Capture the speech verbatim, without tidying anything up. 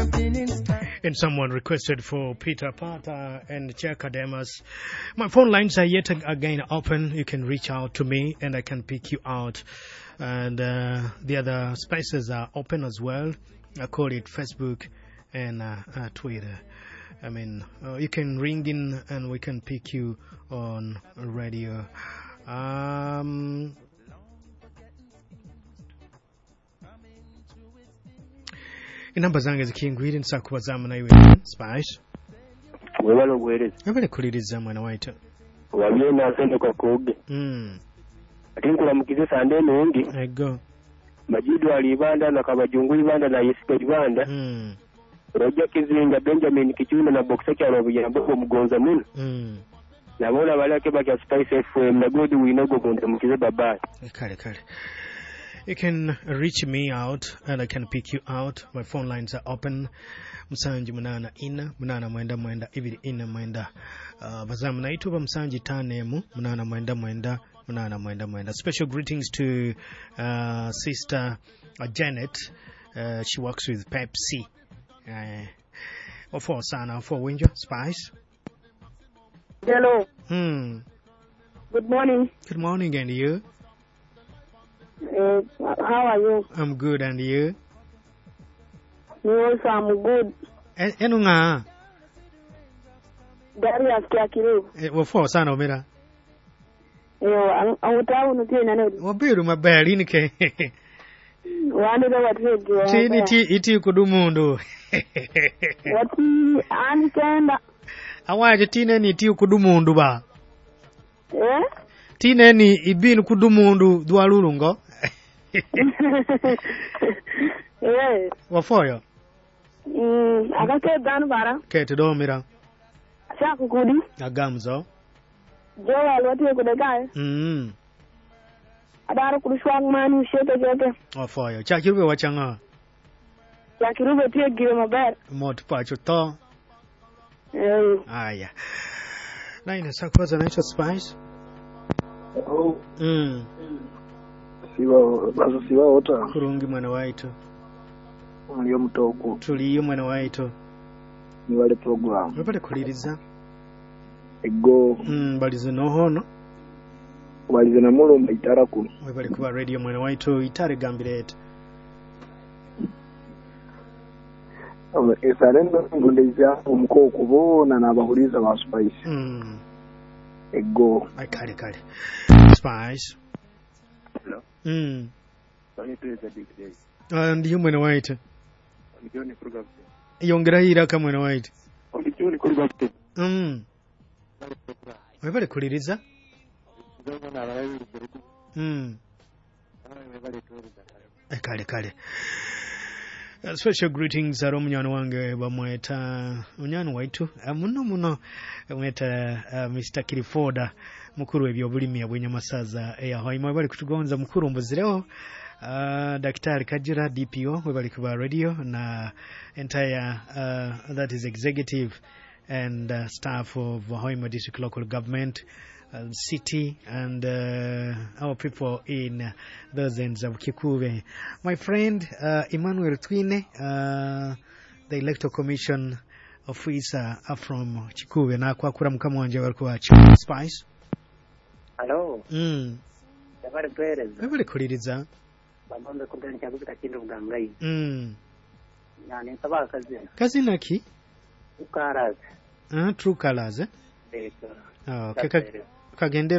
And someone requested for Peter Pata and Chakademas. My phone lines are yet again open. You can reach out to me and I can pick you out. And uh, the other spaces are open as well. I call it Facebook and uh, uh, Twitter. I mean, uh, you can ring in and we can pick you on radio. Um, inamba zange zikingwire nsakubazamu naiwe Spice. Webale obuweereza. Webale kuliriza mwana waitu. Waliyo nasente kwa koge. Mm. Ate nkulamukize sande enungi. Ego. Majidu ali Ibanda na Kabajungu Ibanda na Yesiga Ibanda. Mm. Roger Kizinga, Benjamin Kichuna na Boxer Kyalo Buyambo Mugonza muno. Mm. Nabona balake bakya Spice F M na God Winogo mundamukize bye. Kale kale. You can reach me out and I can pick you out. My phone lines are open. Musanji munana ina, munana mwenda mwenda, ibiri ina mwenda. Uh, bazamu naituba musanji tanemu, munana mwenda mwenda, munana mwenda mwenda. Special greetings to uh, Sister uh, Janet. Uh, she works with Pepsi. Uh, ofo sana, ofo winjo, Spice. Hello. Hmm. Good morning. Good morning, and you? Uh, how are you? I'm good, and you? Me also, I'm good. Enu nga? Darius Kyakiru. Wafo sana omera. Yo, angutawu nutie nane. Wabiru maberi nike. Wani da wati. Tini ti iti kudumundu. Wati ani kenda. Awaje tine ni iti kudumundu ba. Eh? Tine ni ibinu kudumundu dwalulungo. Eh. Wafoyo. Mm, akake danu bara. Kete domira. Sha kukudi. Agamzo. Jowa wati kudeka. Mm. Adaro kudushwa mani shete jote. Wafoyo. Chakirube wachanga. Chakirube tie gire maber. Mot pacho to. Eh. Aya. Naina sakwaza naitwa Spice. Oh. Mm. Siba bazo siba ota. Kurungi mwana waitu. Muliyo mutoko. Tuliyo mwana waitu. Ni wale program. Wabale kuliriza. Ego. Mm, balize nohono. Balize na mulumba itara kuno. Wabale kuba radio mwana waitu itare gambirete. Esarendo ngondeza omukoko bona n'abahuriza ba Spice. Mm. Ego. Ai kale kale. Spice. Hello. Mm. Uh, ndiyo mwana waitu. Yongera iraka mwana waitu. Mm. Webale kuliriza. Mm. Kale kale. Uh, special greetings aro munywana wange bamweta munywana waitu uh, muno muno mweta uh, Mister Kilifoda mukuru ebyobulimi abwenyamasaza eya Hoima bali kutugonza mukuru mbuzireo uh, Daktari Kajira D P O webali kuba radio na entire uh, that is executive and uh, staff of Hoima District Local Government, uh, city and uh, our people in uh, those ends of Kikuube. My friend uh, Emmanuel Twine, uh, the Electoral Commission officer from Kikuube, na kwa kura mkama wanje walikuwa Spice. Hello. Mm. Yabale kueleza. Yabale kuliriza. Babombe kumbeni chakuzi kakindu mgangai. Mm. Na ni sabaka kazina. Kazina ki? True Colors. Ah, True Colors eh? Eko. Ah, okay. Kagendero